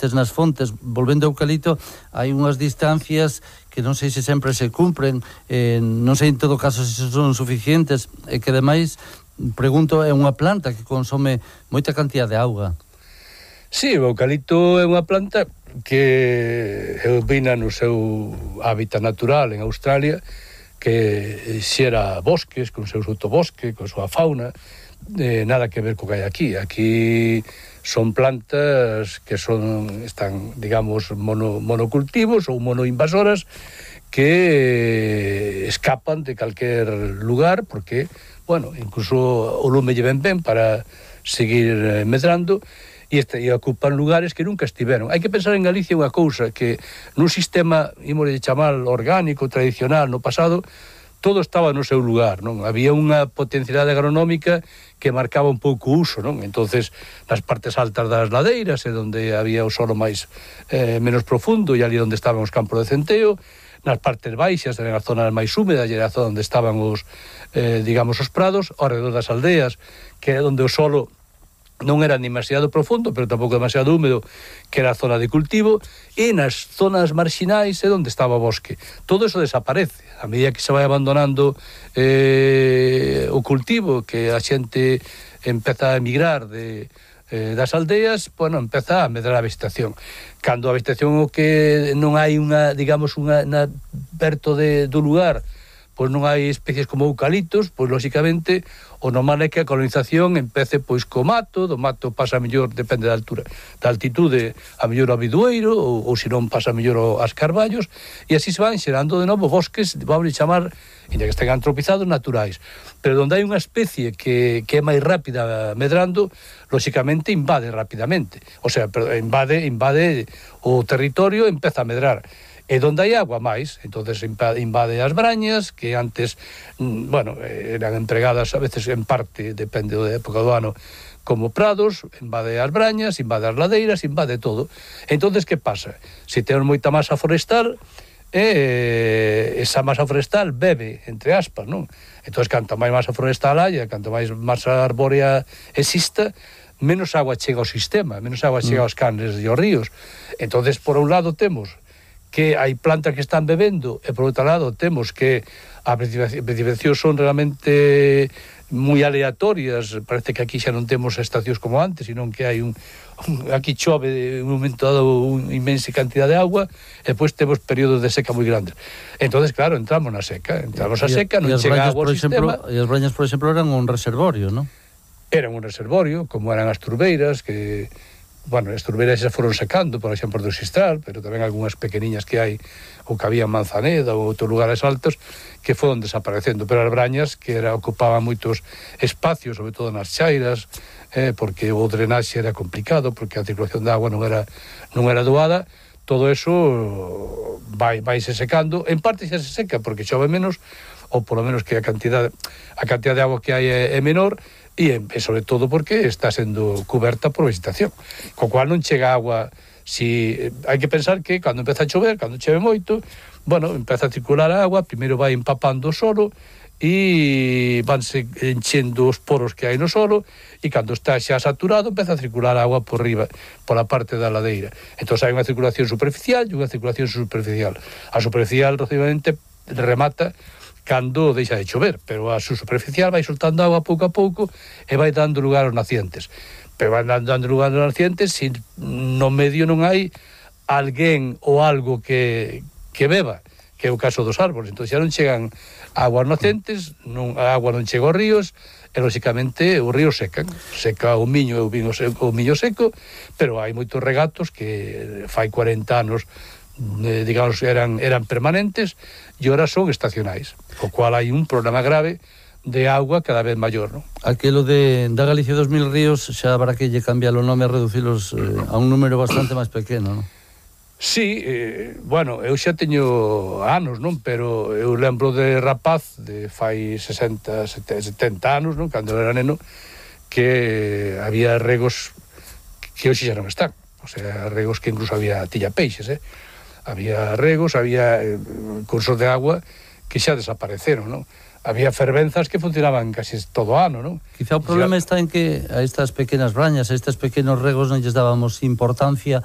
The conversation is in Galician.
nutrientes nas fontes. Volvendo ao eucalipto, hai unhas distancias que non sei se sempre se cumpren, non sei en todo caso se son suficientes, e que ademais, pregunto, é unha planta que consome moita cantidad de auga. Sí, o eucalipto é unha planta que vina no seu hábitat natural en Australia, que xera bosques, con seu sotobosque, con súa fauna, nada que ver co que hai aquí. Aquí son plantas que están, digamos, monocultivos ou monoinvasoras que escapan de calquer lugar, porque, bueno, incluso o lume lle ven ben para seguir medrando, e ocupan lugares que nunca estiveron. Hai que pensar en Galicia unha cousa, que nun sistema, imos de chamar orgánico, tradicional, no pasado, todo estaba no seu lugar, non? Había unha potencialidade agronómica que marcaba un pouco o uso, non? Entonces, nas partes altas das ladeiras, onde había o solo máis menos profundo, e ali onde estaban os campos de centeo, nas partes baixas, nas zonas máis húmedas, e era a zona onde estaban os, digamos, os prados, ao redor das aldeas, que era onde o solo non era demasiado profundo, pero tampouco demasiado húmedo, que era a zona de cultivo, e nas zonas marxinais é onde estaba o bosque. Todo eso desaparece. A medida que se vai abandonando o cultivo, que a xente empeza a emigrar das aldeas, bueno, empeza a medrar a vegetación. Cando a vegetación o que non hai unha, digamos, perto do lugar, pois non hai especies como eucaliptos, pois lóxicamente o normal é que a colonización empece pois co mato, do mato pasa mellor, depende da altura, da altitude, a mellor ao bidueiro, ou se non pasa mellor aos carballos, e así se van xerando de novo bosques, vamos chamar, ainda que estén antropizados, naturais. Pero onde hai unha especie que é máis rápida medrando, lóxicamente invade rapidamente, o sea, invade o territorio, empeza a medrar. E donde hai agua máis, entonces invade as brañas, que antes, bueno, eran empregadas a veces en parte, depende da época do ano, como prados, invade as brañas, invade as ladeiras, invade todo. Entonces, que pasa? Se temos moita masa forestal, esa masa forestal bebe, entre aspas, non? Entonces, canto máis masa forestal haya, canto máis masa arbórea exista, menos agua chega ao sistema, menos agua chega aos canles e aos ríos. Entonces, por un lado, temos que hai plantas que están bebendo, e por outro lado temos que as precipitacións son realmente moi aleatorias. Parece que aquí xa non temos estacións como antes, senón que hai aquí chove un momento dado unha inmensa cantidad de agua, e depois temos períodos de seca moi grandes. Entonces, claro, entramos na seca, non chega agua ao sistema. E as brañas, por exemplo, eran un reservorio, non? Eran un reservorio, como eran as turbeiras, que... Bueno, as turbeiras xa foron secando, por exemplo, do Xistral, pero tamén algunhas pequeniñas que hai, ou que había en Manzaneda ou outros lugares altos, que foron desaparecendo. Pero as brañas, que ocupaban moitos espacios, sobre todo nas chairas, porque o drenaxe era complicado, porque a circulación de agua non era doada, todo eso vaise secando. En parte xa se seca, porque chove menos, ou polo menos que a cantidad de agua que hai é menor, e sobre todo porque está sendo coberta por vegetación, co cual non chega agua. Hai que pensar que cando empeza a chover, cando chove moito, bueno, empeza a circular a agua, primeiro vai empapando o solo e vanse enchendo os poros que hai no solo, e cando está xa saturado empeza a circular a agua por riba, pola parte da ladeira. Entón hai unha circulación superficial e unha circulación superficial. A superficial relativamente remata cando deixa de chover, pero a superficial vai soltando agua pouco a pouco e vai dando lugar aos nacientes. Pero vai dando lugar aos nacientes se no medio non hai alguén ou algo que beba, que é o caso dos árboles. Entón xa non chegan aguas nacientes, a agua non chega aos ríos, e lóxicamente os ríos seca o miño e o miño seco, pero hai moitos regatos que fai 40 anos digamos, eran permanentes, e ahora son estacionais, co cual hai un problema grave de agua cada vez maior, non? Aquilo da Galicia 2000 ríos xa habrá que lle cambiar o nome e reducilos a un número bastante máis pequeno, non? Sí, bueno, eu xa teño anos, non? Pero eu lembro de rapaz, de fai 60, 70 anos, non? Cando era neno, que había regos que hoxe xa non están. O sea, regos que incluso había tilla peixes, había regos, había cursos de agua que xa desapareceron, non? Había fervenzas que funcionaban casi todo o ano, non? Quizá o problema está en que a estas pequenas brañas, a estes pequenos regos non lles dábamos importancia